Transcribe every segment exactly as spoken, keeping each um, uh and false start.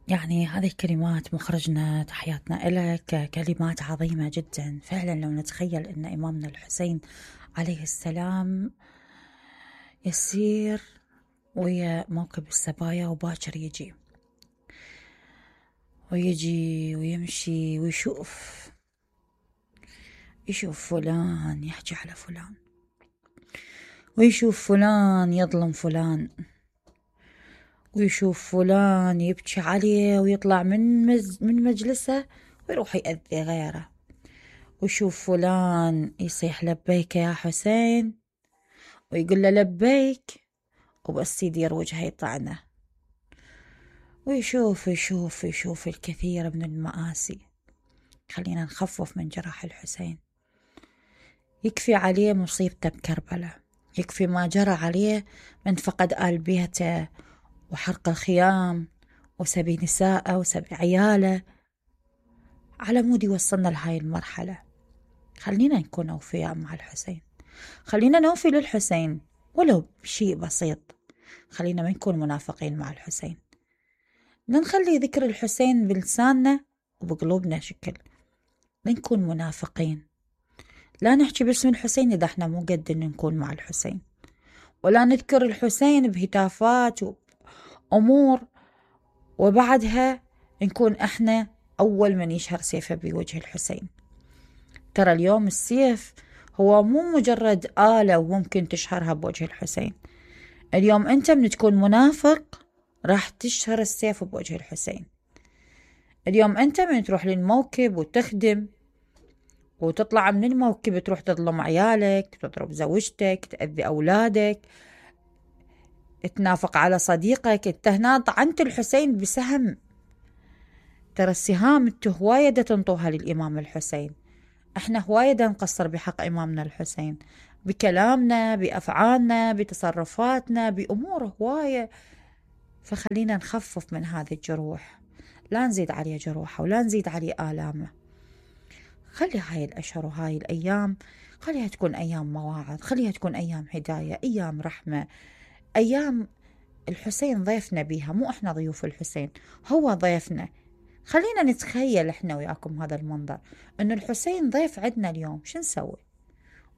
يعني هذه الكلمات مخرجنا تحياتنا إلك، كلمات عظيمة جدا فعلا. لو نتخيل أن إمامنا الحسين عليه السلام يسير ويا موكب السبايا وباكر يجي ويجي ويمشي ويشوف يشوف فلان يحكي على فلان، ويشوف فلان يظلم فلان، ويشوف فلان يبكي عليه ويطلع من مز من مجلسه ويروح يأذي غيره، ويشوف فلان يصيح لبيك يا حسين ويقول له لبيك وبس يدير وجهه يطعنه، ويشوف يشوف يشوف الكثير من المآسي. خلينا نخفف من جراح الحسين، يكفي عليه مصيبته بكربلاء، يكفي ما جرى عليه من فقد آل بيته وحرق الخيام وسبي نساءه وسبي عياله، على مود يوصلنا لهاي المرحلة. خلينا نكون أوفياء مع الحسين، خلينا نوفي للحسين ولو بشيء بسيط، خلينا ما نكون منافقين مع الحسين، نخلي ذكر الحسين بلساننا وبقلوبنا شكل، ما نكون منافقين. لا نحكي باسم الحسين إذا احنا مو قد نكون مع الحسين، ولا نذكر الحسين بهتافات وأمور وبعدها نكون احنا أول من يشهر سيفه بوجه الحسين. ترى اليوم السيف هو مو مجرد آلة وممكن تشهرها بوجه الحسين، اليوم أنت من تكون منافق راح تشهر السيف بوجه الحسين. اليوم أنت من تروح للموكب وتخدم وتطلع من الموكب تروح تظلم عيالك، تضرب زوجتك، تأذي أولادك، تنافق على صديقك، انت هنا طعنت الحسين بسهم. ترى السهام انتو هواية تنطوها للإمام الحسين، احنا هواية نقصر بحق إمامنا الحسين بكلامنا بأفعالنا بتصرفاتنا بأمور هواية. فخلينا نخفف من هذه الجروح، لا نزيد عليه جروحه ولا نزيد عليه آلامه. خلي هاي الأشهر وهاي الأيام خليها تكون أيام مواعظ، خليها تكون أيام هداية، أيام رحمة، أيام الحسين ضيفنا بيها، مو إحنا ضيوف الحسين، هو ضيفنا. خلينا نتخيل إحنا وياكم هذا المنظر، إنه الحسين ضيف عندنا اليوم، شو نسوي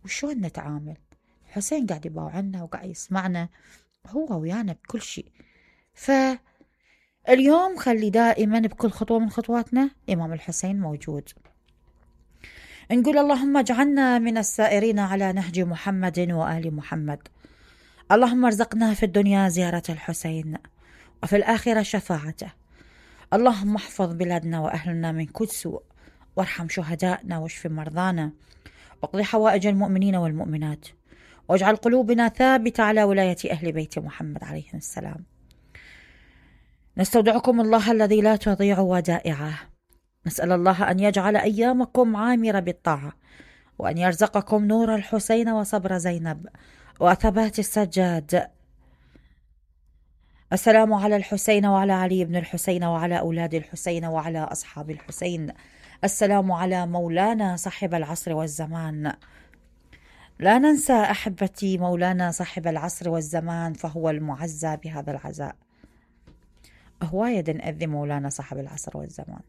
وشون نتعامل؟ الحسين قاعد يباوعنا وقاعد يسمعنا، هو ويانا بكل شيء. فاليوم خلي دائما بكل خطوة من خطواتنا إمام الحسين موجود. نقول اللهم اجعلنا من السائرين على نهج محمد وآل محمد. اللهم ارزقنا في الدنيا زيارة الحسين وفي الآخرة شفاعته. اللهم احفظ بلادنا وأهلنا من كل سوء، وارحم شهدائنا واشف مرضانا، واقض حوائج المؤمنين والمؤمنات، واجعل قلوبنا ثابتة على ولاية أهل بيت محمد عليه السلام. نستودعكم الله الذي لا تضيع ودائعه، نسأل الله أن يجعل أيامكم عامرة بالطاعة، وأن يرزقكم نور الحسين وصبر زينب وثبات السجاد. السلام على الحسين وعلى علي بن الحسين وعلى أولاد الحسين وعلى أصحاب الحسين. السلام على مولانا صاحب العصر والزمان. لا ننسى أحبتي مولانا صاحب العصر والزمان، فهو المعزى بهذا العزاء. هواية نأذي مولانا صاحب العصر والزمان،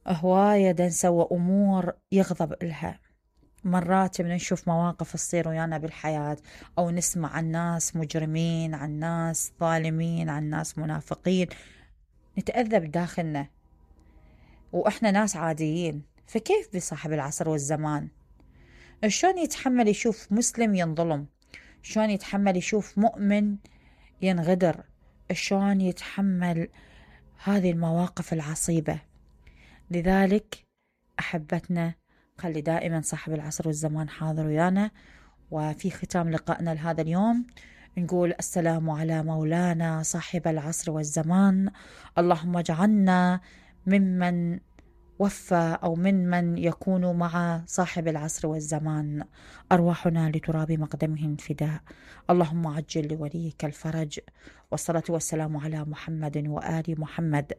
هواية نسوى أمور يغضب إلها. مرات من نشوف مواقف تصير ويانا بالحياة، أو نسمع عن ناس مجرمين، عن ناس ظالمين، عن ناس منافقين، نتأذى بداخلنا وإحنا ناس عاديين. فكيف بصاحب العصر والزمان؟ شلون يتحمل يشوف مسلم ينظلم؟ شلون يتحمل يشوف مؤمن ينغدر؟ شلون يتحمل هذه المواقف العصيبة؟ لذلك أحبتنا خلي دائما صاحب العصر والزمان حاضر ويانا. وفي ختام لقائنا لهذا اليوم نقول السلام على مولانا صاحب العصر والزمان. اللهم اجعلنا ممن وفى أو من من يكون مع صاحب العصر والزمان، أرواحنا لتراب مقدمهم فداء. اللهم عجل لوليك الفرج، والصلاة والسلام على محمد وآل محمد.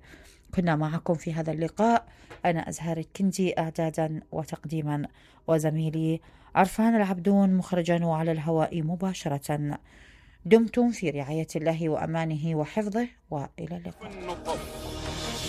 كنا معكم في هذا اللقاء أنا أزهر الكندي إعدادا وتقديما، وزميلي عرفان العبدون مخرجا وعلى الهواء مباشرة. دمتم في رعاية الله وأمانه وحفظه، وإلى اللقاء.